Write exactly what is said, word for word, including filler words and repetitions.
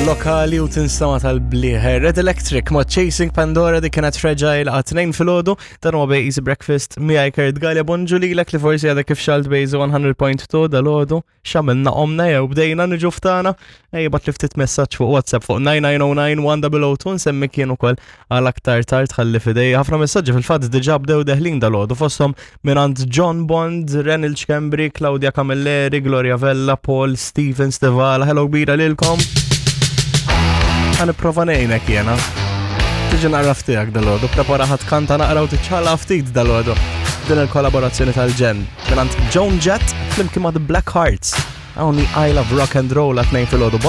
Lokali u tinstama tal-bliħ. Red Electric ma' Chasing Pandora, dik kienet Fragile għat tnejn filgħodu. Dan huwa bej Easy Breakfast miegħi Kurt Galea. Bonġu lilek li forsi għadek kif xgħelt Bejzi mija punt tnejn dalgħodu. X'għamilna, qomna jew bdejna niġu ftana? Ejja, ibgħatli ftit messaġġ fuq WhatsApp fuq tnejn tnejn żero tnejn wieħed żero żero tnejn, nsemmi kien ukoll għal aktar tard ħalli fidej. Ħafna messaġġi fil-fatt diġà bdew deħlin dalgħodu, fosthom mingħand John Bond, Renil Schembri, Claudia Camilleri, Gloria Vella, Paul Steven Stivala. Hello kbira lilkom. Ħa nipprova ngħinek jena. Tiġi naqra ftijak dalgħodu, prepara ħa tkanta naqra u tiċċaqlaq ftit dalgħodu. Din il-kollaborazzjoni tal-ġenn mingħand Joan Jett flimkien ma' The Black Hearts. Hawn I Love Rock and Roll għat-tnejn filgħodu.